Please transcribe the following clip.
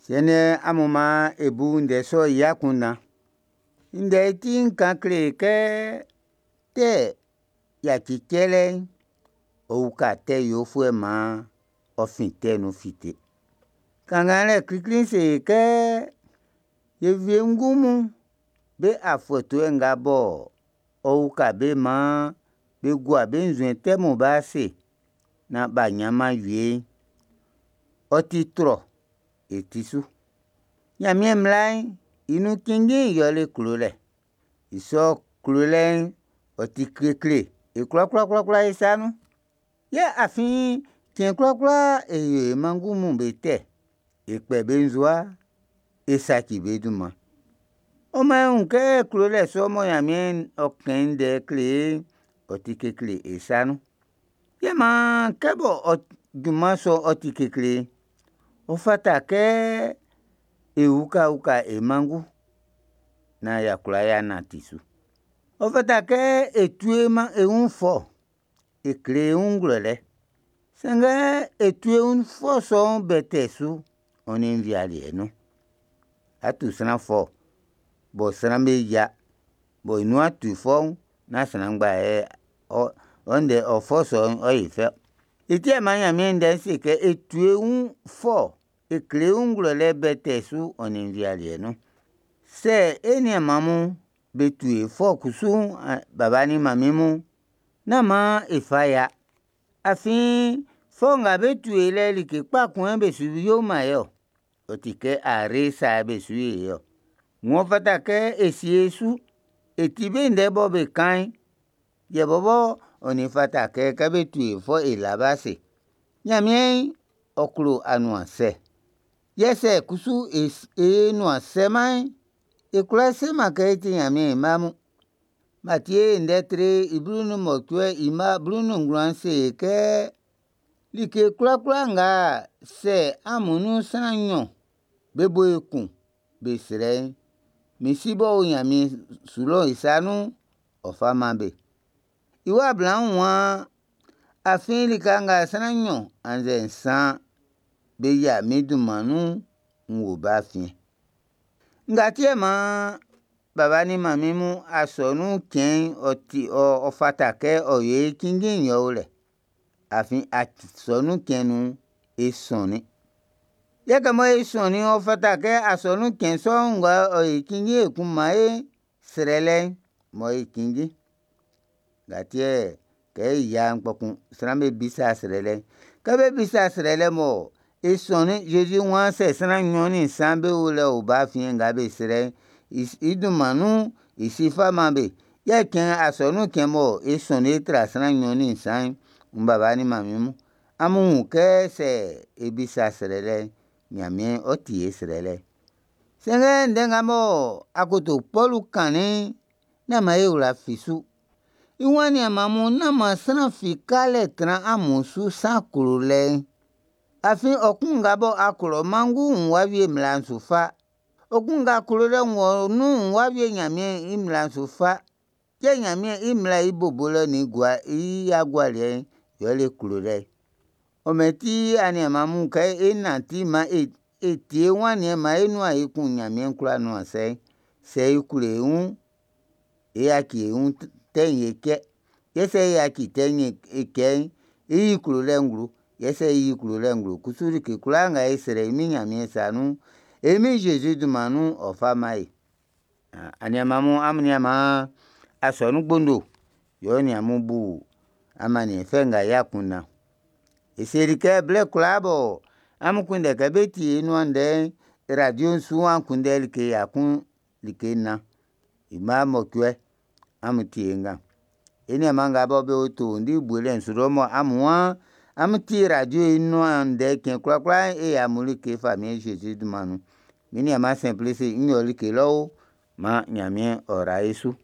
Siɛn'n, amun maan e bu ndɛ sɔ'n i akunndan. Ndɛ'n i ti'n kan kle e kɛ tɛ yaci cɛlɛ'n, ɔ uka tɛ yofuɛ'n maan ɔ fin tɛ nun fite. Kannganlɛ klikli'n se e kɛ e wiengu mun be afɔtuɛ nga bɔ ɔ uka be maan be gua be nzuɛn tɛ mun be ase naan b'a ɲanman wie'n, ɔ ti trɔ e ti su. Ɲanmiɛn mmla'n i nun cinnjin'n yɛle klolɛ. I sɔ klolɛ'n, ɔ ti kekle e kwlakwlakwla e sa nun. Yɛ afin cɛn kwlakwla e yo e wiengu'm be tɛ, e kpɛ be nzowa, e saci be dunman. Ɔ maan e wun kɛ klolɛ sɔ mɔ Ɲanmiɛn ɔ kɛn i ndɛ kle e'n, ɔ ti kekle e sa nun. Yɛ maan kɛ bɔ junman sɔ'n ɔ ti kekle'n, ɔ fata kɛ e ukauka e manngu naan y'a kwla y'a nanti su. Ɔ fata kɛ e tu e wun fɔ, e kle e wun ngwlɛlɛ. Sanngɛ e tu e wun fɔ sɔ'n bɛtɛ su ɔ nin nvialiɛ nun. A tu sran fɔ bɔ sran'm be yia, bɔ i nuan ti fɔuun, nán sran ngba yɛ ɔ ndɛ ɔ fɔ sɔ'n ɔ yo i fɛ. I ti yɛ maan Ɲanmiɛn Ndɛ'n se kɛ e tu e wun fɔ, e kle e wun ngwlɛlɛ bɛtɛ su ɔ nin nvialiɛ nun. Sɛ e nianman mun be tu e fɔ kusu'n, baba nin manmin mun, nán maan e fa ya. Afin fɔ nga be tu e lɛ'n, like kpa kun yɛ be su yo man e ɔ. Ɔ ti kɛ are sa yɛ be su yo e ɔ. Ng'ɔ fata kɛ e sie e su e ti be ndɛ bɔ be kan'n, yɛ bɔbɔ ɔ nin fata kɛ kɛ be tu e fɔ'n e la be ase. Ɲanmiɛn ɔ klo anuansɛ. Yɛ sɛ kusu e nuan sɛman'n, e kwlá seman kɛ e ti Ɲanmiɛn i mma mun. Matie i ndɛ tre 18 i mma 19 se e kɛ like kwlakwla nga sɛ amun nun sran nɲɔn be bo yo kun be srɛ'n, min Si m'ɔ o ɲanmiɛn su lɔ'n i sa nun'n, ɔ́ fá mán be. I wa bla'n waan, afin lika nga sran nɲɔn annzɛ nsan be yia min dunman nun'n, n wo be afiɛn. Nga ti yɛ maan baba nin manmin mun asɔnun cɛn'n ɔ ti ɔ fata kɛ ɔ yo e cinnjin'n yɛ o lɛ. Afin asɔnun cɛn nun'n, e sɔnnin. Yɛ kɛ mɔ e sɔnnin'n, ɔ fata kɛ asɔnun cɛn sɔ'n nga ɔ yo cinnjin ekun man e srɛlɛ'n m'ɔ yo cinnjin. Nga ti yɛ kɛ e yia'n kpɔkun sran'm be bisa srɛlɛ'n. Kɛ be bisa srɛlɛ mɔ e sɔnnin'n, Zezi waan sɛ sran nɲɔn nin nsan be o lɛ o be afiɛn nga be srɛ'n, i dunman nun'n, i Si fa man be. Yɛ cɛn asɔnun cɛn mɔ e sɔnnin e tra sran nɲɔn nin nsan'n, n baba nin manmin mun, amun wun kɛ sɛ e bisa srɛlɛ'n, Ɲanmiɛn ɔ ti e srɛlɛ'n. Sanngɛ ndɛ nga mɔ akoto Pɔlu kannin'n, nán maan e wla fi su. I waan nianman mun, nán maan sran fi ka lɛ tran amun su san klolɛ'n. Afin ɔ kun nga bɔ a klo ɔ manngu'n wuun w'a wie mmla'n su fa. Ɔ kun nga klolɛ wɔ nun'n wuun w'a wie Nyanmiɛn i mmla'n su fa. Yɛ Nyanmiɛn i mmla'n i bo bolɛ nin i agualiɛ'n yɛle klolɛ'n. Ɔ mɛn ti aniaman mun kɛ e nanti maan e tie e wun aniɛn maan e nuan yo kun Ɲanmiɛn kwla nuan sɛ'n. Sɛ e klo e wun'n, e yaci e wun tɛ'n e cɛ. Yɛ sɛ e yaci tɛ'n e cɛ'n, e yi klolɛ'n nglo. Yɛ sɛ e yi klolɛ'n nglo kusu like kwlaa nga e srɛ i min Ɲanmiɛn sa nun'n, e Min Zezi dunman nun'n, ɔ fa man e. Aniaman mun, amun nian maan asɔnun gbondo yɛ ɔ nin amun bu amanniɛn fɛ nga i akunndan. E seli kɛ blɛ kwlaa bɔ amun kunndɛ kɛ be tie e nuan ndɛ'n, radio'n su an kunndɛ like ya kun like nnan, i mma mɔcuɛ, amun tie nga. E nianman nga bɔ be o Towindi buelɛ'n su lɔ mɔ amun waan amun tie radio i nuan ndɛ cɛn kwlakwla'n, e yo amun like Famiɛn Zezi dunman nun. Mi nianman Sɛnplisi n yo like lɔ o, maan Ɲanmiɛn ɔ ra e su.